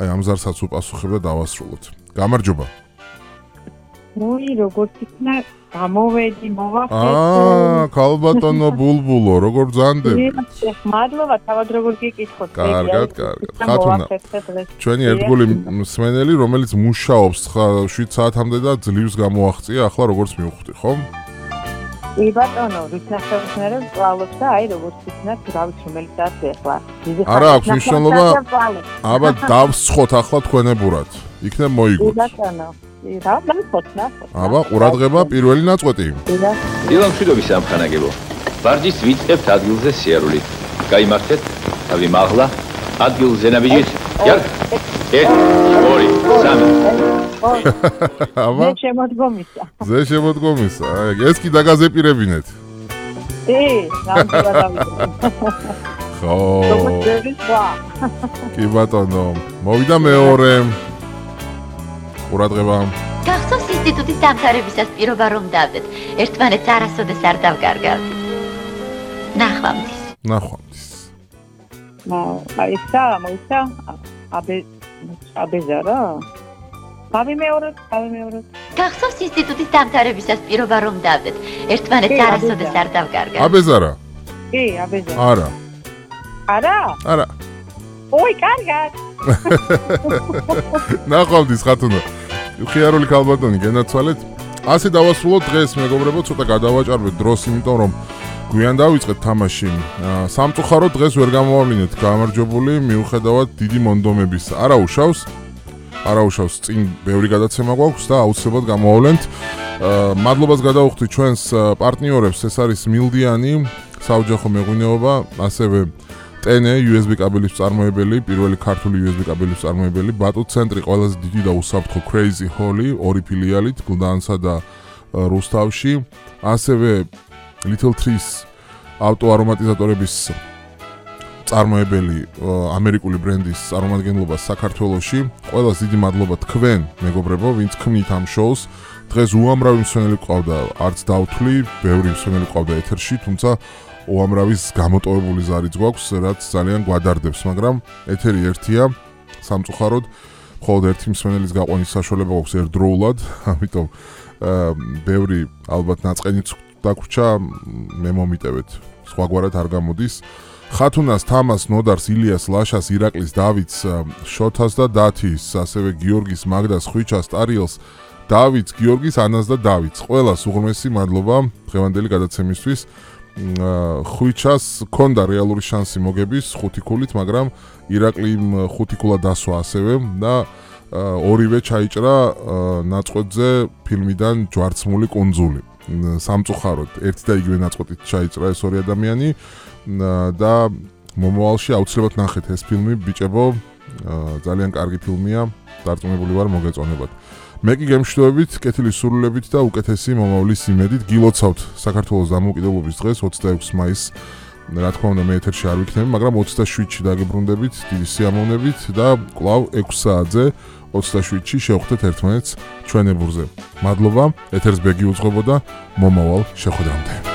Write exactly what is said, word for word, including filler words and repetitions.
აი ამ ზარსაც უპასუხებ და დავასრულოთ. გამარჯობა. მოი როგორც იქნა გამოვედი მოვახეთ. აა, ქალბატონო ბულბულო, როგორ ბრძანდები? მადლობა, თავად როგორ გიკითხოთ. კარგად, კარგად. ხათუნა. ჩვენი ერთგული მსმენელი, რომელიც მუშაობს შვიდ საათამდე და ძლივს გამოაღწია, ახლა როგორც მივხვდი, ხო? კი ბატონო, ვიცნახებთ პავლობს და აი როგორც იქნა, რა ვიცი რომელი საათი ახლა. არა აქვს მნიშვნელობა. აბა დავსხოთ ახლა თქვენებურად. იქნებ მოიგოთ. კი ბატონო. რა დავსხოთ, ნახოთ. აბა ყურადღება პირველი ნაწყვეტი. დილა მშვიდობის სამხანაგებო. ვარჯიშს ვიწყებთ ადგილზე სიარული. გაიმართეთ, თავი მაღლა, ადგილზე ნაბიჯით. იარ. ერთი, ორი, სამი. აბა. ზე შემოდგომისა. ზე შემოდგომისა. ეს კი დაგაზეპირებინეთ. კი, ნამდვილად დავიწყე. ხო. როგორ კი ბატონო, მოვიდა მეორე. ყურადღება. გახსოვს ინსტიტუტის დამთავრებისას პირობა რომ დავდეთ. ერთმანეთს არასოდეს არ დავგარგავდით. ნახვამდის. ნახვამდის. აი სა, მოიცა? აბე აბეზა რა? გავიმეოროთ, გავიმეოროთ. გახსოვს ინსტიტუტის დამთავრებისას პირობა რომ დავდეთ. ერთმანეთს არასოდეს არ დავგარგავდით. აბეზარა? კი, აბეზა. არა. არა? არა. ოი, კარგად. ნახვამდის ხათუნა. ხიარული ქალბატონი გენაცვალეთ. ასე დავასრულოთ დღეს, მეგობრებო, ცოტა გადავაჭარბეთ დროს, იმიტომ რომ გვიან დავიწყეთ თამაში. სამწუხაროდ დღეს ვერ გამოვავლინეთ გამარჯვებული, მიუხედავად დიდი მონდომების. არა უშავს. არა უშავს, წინ ბევრი გადაცემა გვაქვს და აუცილებლად გამოვავლენთ. მადლობას გადავუხდით ჩვენს პარტნიორებს, ეს არის მილდიანი, საოჯახო მეღვინეობა, ასევე ტენე იუ ეს ბი კაბელის მწარმოებელი, პირველი ქართული იუ ეს ბი კაბელის მწარმოებელი, ბატუ ცენტრი, ყველაზე დიდი და უსაფრთხო Crazy Holly, ორი ფილიალით, გლდანსა და რუსთავში, ასევე Little Trees ავტო არომატიზატორების მწარმოებელი, ამერიკული ბრენდის წარმომადგენლობა საქართველოში. ყველას დიდი მადლობა თქვენ, მეგობრებო, ვინც ქმნით ამ შოუს. დღეს უამრავი მსმენელი ყავდა, არც დავთვლი, ბევრი მსმენელი ყავდა ეთერში, თუმცა უამრავის გამოტოვებული ზარიც გვაქვს, რაც ძალიან გვადარდებს, მაგრამ ეთერი ერთია, სამწუხაროდ, მხოლოდ ერთი მსმენელის გაყვანის საშუალება გვაქვს ერთდროულად, ამიტომ ბევრი ალბათ ნაწყენიც დაგვრჩა, მე მომიტევეთ, სხვაგვარად არ გამოდის. ხათუნას, თამას, ნოდარს, ილიას, ლაშას, ირაკლის, დავითს, შოთას და დათის, ასევე გიორგის, მაგდას, ხვიჩას, ტარიელს, დავითს, გიორგის, ანას და დავითს. ყველას უღრმესი მადლობა დღევანდელი გადაცემისთვის. ხვიჩას ქონდა რეალური შანსი მოგების ხუთი ქულით, მაგრამ ირაკლიმ ხუთი ქულა დასვა ასევე და ორივე ჩაიჭრა ნაწყვეტზე ფილმიდან ჯვარცმული კუნძული. სამწუხაროდ ერთი და იგივე ნაწყვეტით ჩაიჭრა ეს ორი ადამიანი და მომავალში აუცილებლად ნახეთ ეს ფილმი, ბიჭებო, ძალიან კარგი ფილმია, დარწმუნებული ვარ მოგეწონებათ. მე კი გემშვიდობებით, კეთილის სურვილებით და უკეთესი მომავლის იმედით გილოცავთ საქართველოს დამოუკიდებლობის დღეს ოცდაექვსი მაისს. რა თქმა უნდა, მე ეთერში არ ვიქნები, მაგრამ ოცდაშვიდში დაგებრუნდებით დიდი სიამოვნებით და კვლავ ექვსი საათზე ოცდაშვიდში შევხვდეთ ერთმანეთს ჩვენებურზე. მადლობა, ეთერს ბეგი უძღვებოდა, მომავალ შეხვედრამდე.